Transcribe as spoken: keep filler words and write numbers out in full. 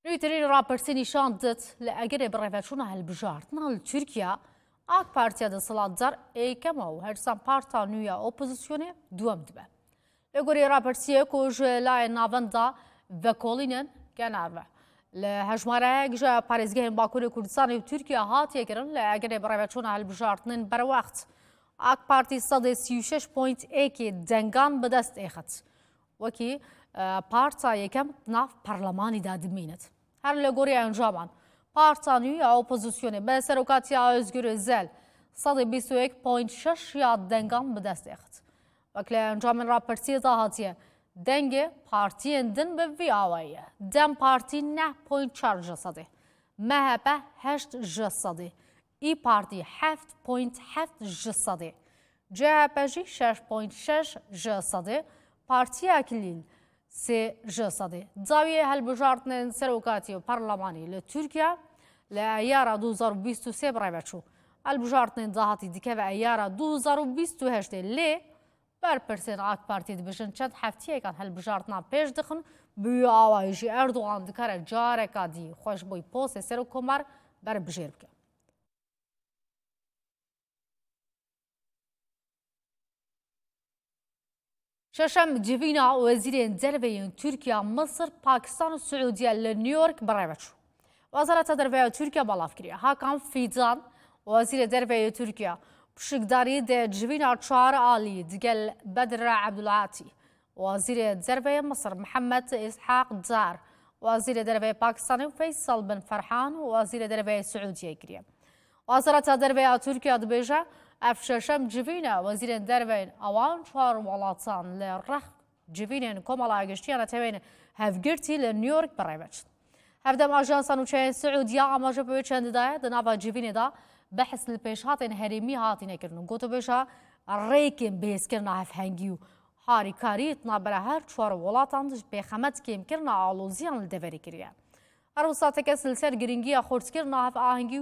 Nûterîn rapirsî nîşan dit, li egerê birêveçûna hilbijartina li Tirkiye, AK Partiya desthilatdar êkem e û her dîsan parta nû ya opozisyonê duwem dibe. Li gorî rapirsiyê ku ji layê navenda vekolînin genarve, li hejmareyek ji parêzgehên Bakurê Kurdistanê û Tirkiye hatiye kirin, li egerê birêveçûna hilbijartinên berwext, AK Partî sedê sî û şeş point êkê dengan bi dest êxit. Wekî, e, parta yekem di nav parlemanî de dimînit. Her li gorî encaman, parta nû ya opozisyonê bi serokatiya Özgür Özel sedê bîst û yek point şeş ya dengan bi dest êxit. Wek li encamên rapirsiyê de hatiye, dengê partiyên din bi vî awayî ye. DEM Partî neh point çar ji sedê, MHP heşt ji sedê, İYİ Partî heft point heft ji sedê, CHP jî şeş point şeş ji sedê, Partiya Kilîl sê ji sedê. Dawiyê hilbijartinên serokatî û parlemanî li Tirkiye li eyara du hezar û bîst û sê bi rêve çû. Hilbijartinên dahatî dikeve eyara du hezar û bîst û heştê, lê berpirsên AK Partî dibêjin çend heftiyekan hilbijartina pêş dixin, bi wî awayî jî Erdogan dikare careka dî xwe ji bo postê serokkomar berbijêr bike. Şeşem civîna wezîrên derve yên Tirkiye, Misir, Pakistan û Siûdiye li New York bi rêve çû. Wezareta Derve ya Tirkiye belav kiriye. Hakan Fidan, wezîrê derve yê Tirkiye, pişikdarî de civîna çar alî digel Bedir Abdulati, Wezîrê Derve yê Misir Mihemed Îshak Dar, Wezîrê Derve yê Pakistanê Feysal bin Ferhan û Wezîrê Derve yê Siûdiyê kiriye. Wezareta Derve ya Tirkiye dibêje, ev şeşem civîn e wezîrên derve yên ewan çar welatan li rex civînên Komala Giştî ya Netewên Hevgirtî li New York bi rê ve çin. Hevdem ajansa nûçeyên Siûdiya amaje bi wê çendî daye, di nava civînê de behs li pêşhatên herêmî hatine kirin û gotûbêja rêkên bihêzkirina hevhengî û harîkarî di navbera her çar welatan de ji pêxemet kêmkirina aloziyan li deverê kiriye. Her wisa tekez li ser girîngiya xurtkirina hevahengî û